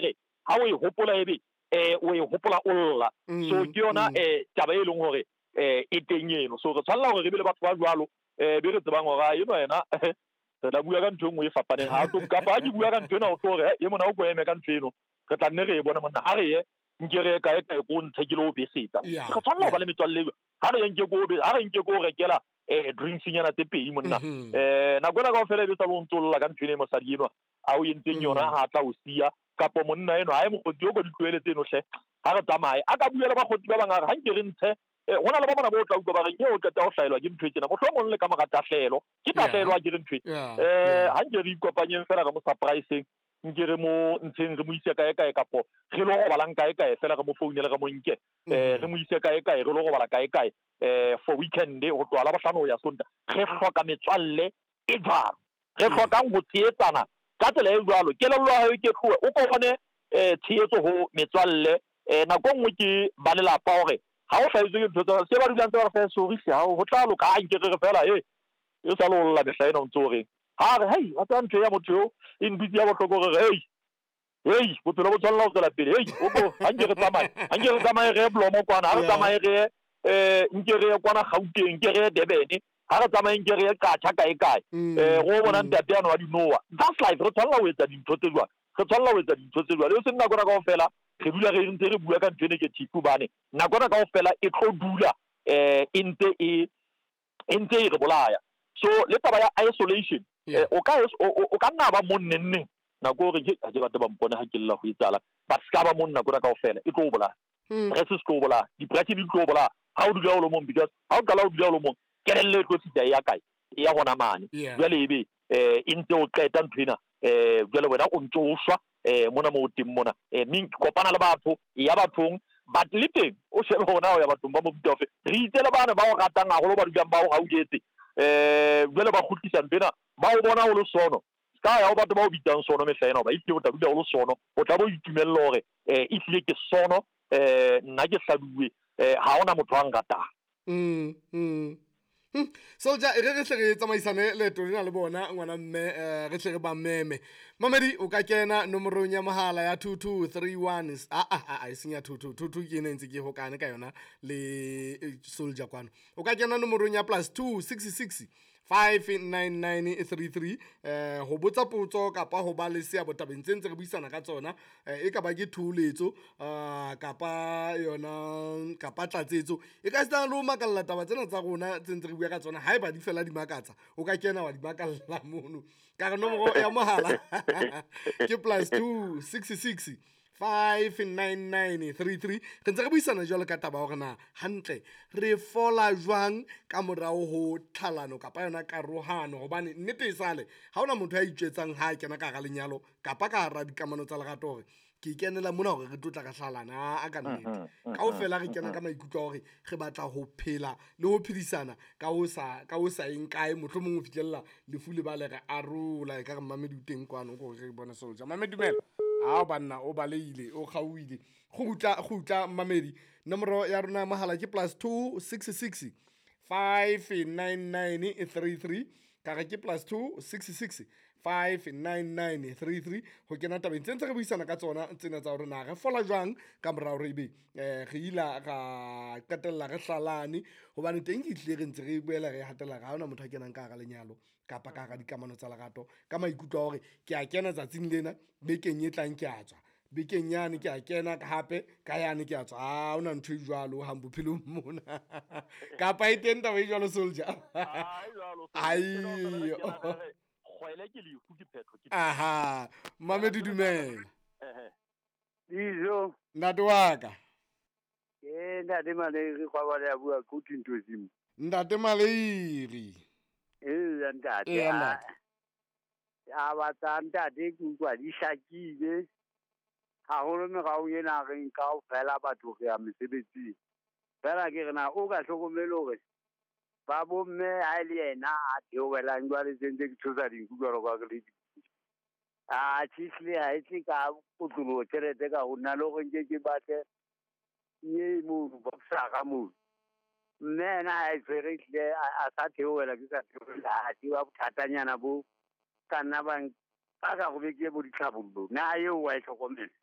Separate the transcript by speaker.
Speaker 1: re ha o e hopola ebe o e hopola o lla. So ke yona taba e leng hore e teng eno. So re tshwanela hore re be le batho ba jwalo, be re tsebang hore eno yena re tla bua ka ntho e nngwe e fapaneng. Ha tlo kapa ha ke bua ka ntho ena, o tlo hore e mona o ko eme ka ntho eno, re tla nne re e bone monna. Ha re ye nke re ye kae kae ko ntshe ke lo besetsa. Re tshwanela ho ba le metswalle e. Ha re ye nke ko ha re nke ko rekela drinks nyana tse pedi monna. Nako ena kaofela e be sa lo ntso lla ka ntho ena e mosadi enwa a o entseng yona, ha tla o siya kapo monna eno ha e mokgotsi o ko di tlohele tseno hle. Ha re tsamaye a ka bua le bakgotsi ba bang, a re ha nke re ntshe. Hona le ba bona bo tla utlwa ba reng e o qeta ho hlahelwa ke ntho e tjena, mohlomong le ka mora tahlehelo ke tahlehelo, ha ke re ntho e ha nke re ikopanyeng fela re mo surpriseng, nke re mo ntsheng re mo ise kae kae, kapo re lo robalang kae kae fela, re mo founele re mo nke, re mo ise kae kae, re lo robala kae kae for weekend ho tloha la bohlano ho ya Sonta. Re hloka metswalle e jwalo, re hlokang ho tshehetsana ka tsela e jwalo. Kelello ya hao e ke tlohe o ko bone tshehetso ho metswalle. Nako e nngwe ke ba lelapa hore ha o hlahetswe ke ntho tsa se ba dulang tse ba re fe sorry hle, ha ho tla loka. Ha nke re re fela e sa le o lla mehla ena o ntso o reng, ha re hei wa tseba ntho ya motho eo e ntutse ya bohloko, re re hei bophelo bo tshwanela ho tswela pele. Hei o ko ha nke re tsamaye, ha nke re tsamaye re ye Blomo kwana, ha re tsamaye re ye nke re ye kwana Gauteng, nke re ye Durban, ha re tsamaye nke re ye Qacha kae kae, go bona ntate ano wa dinowa. That's life. Re tshwanela ho etsa dintho tse jwalo, re tshwanela ho etsa dintho tse jwalo, e seng nako ena kaofela re dula re ntse re bua ka ntho e negative, hobane nako ena kaofela e tlo dula e ntse e ntse e re bolaya. So le taba ya isolation, o ka o ka nna ba mong neng neng nako hore ke ha ke batle ba mpone ha ke lla ho etsahala, but ska ba mong nako ena kaofela, e tlo o bolaya. Stress se tlo o bolaya, depression di tlo o bolaya ha o dula o le mong, because ha o qala o dula o le mong, kelello e tlo fihla e ya kae, e ya hona mane. Jwale ebe e ntse o qeta ntho ena, jwale wena o ntso o shwa mona mo o teng mona. Mme kopana le batho, e ya bathong, but le teng o shebe hore na o ya bathong ba mofuta ofe. Re itse le bane ba o ratang haholo, ba dulang ba o hauhetse, jwale ba kgutlisa ntho ena, ba o bona o le sono. Ska ya o batho ba o bitsang sono mehla ena, hoba ehlile o tla dula o le sono, o tla bo itumella hore ehlile ke sono, nna ke hladuwe, ha hona motho a nratang.
Speaker 2: Soldier, e re re hle re tsamaisane leeto lena le bona ngwana mme, re hle re ba meme. Mamedi, o ka kena nomorong ya mohala ya 2231, a e seng ya 2222, ke ena e ntse ke hokane ka yona le Soldier kwano. O ka kena nomorong ya +266 59933 ho botsa potso kapa ho ba le seabo tabeng tse ntse re buisana ka tsona, e ka ba ke thuletso kapa yona kapa tlatsetso, e ka sitana le ho makalla taba tsena tsa rona tse ntse re bua ka tsona. Haeba di fela di makatsa, o ka kena wa di makalla mono. Ka re nomoro ya mohala ke +266 59933. Re ntse re buisana jwalo ka taba hore na hantle re fola jwang ka morao ho tlhalano kapa yona karohano, hobane nnete e sale ha hona motho ya itjwetsang ha a kena ka hara lenyalo kapa ka hara dikamano tsa lerato hore ke kenela mona hore re tlo tla re hlalana. A ka nnete kaofela re kena ka maikutlo a hore re batla ho phela le ho phedisana ka ho sa eng kae, mohlomong ho fihlella lefu le ba le re arola. E ka re mmamedi o teng kwano ko re bone Soldier. Mamedi dumela. Ao banna o baleile o kgauile. Kgutla mmamedi, nomoro ya rona mohala ke +266 59933, ka re ke +266 59933 ho kena tabeng tse ntse re buisana ka tsona tsena tsa hore na re fola jwang ka morao re ebe re ila ra qetella re hlalane, hobane teng ke tlile re ntse re boela re hatela ra hona motho a kenang ka hara lenyalo kapa ka hara dikamano tsa lerato ka maikutlo a hore ke a kena tsatsing lena, bekeng e tlang ke a tswa, bekeng yane ke a kena hape ka yane ke a tswa. Ha hona ntho e jwalo hang bophelong mona. Kapa e teng taba e jwalo Soldier? Aiyo.
Speaker 1: Kgwele ke lefu ke phetho ke.
Speaker 2: Aha, Mamedi dumela.
Speaker 3: Dijo.
Speaker 2: Ntate wa ka.
Speaker 3: Ke ntate Maleiri kwa ba ya bua go Tintozimo.
Speaker 2: Ntate Maleiri.
Speaker 3: Eh ntate. A batla ntate ke utlwa di hlakile. Haholo merao ena re nka kaofela batho re ya mesebetsing. Fela ke re na o ka hlokomele hore ba bomme ha e le yena a theohelang jwale tse ntse ke tshosa dinku jwalo ka re le dinku. A tjhe ha e tle ka kotloloho tjhelete ka ho nna le hore nke ke batle ye mono boxara mono. Mme yena ha e tshwere ehlile a sa theohela ke sa theohela, ha ke ba bothatanyana bo ka nna ba ka go be ke bo ditlhabollo. Na eo wa e hlokomela?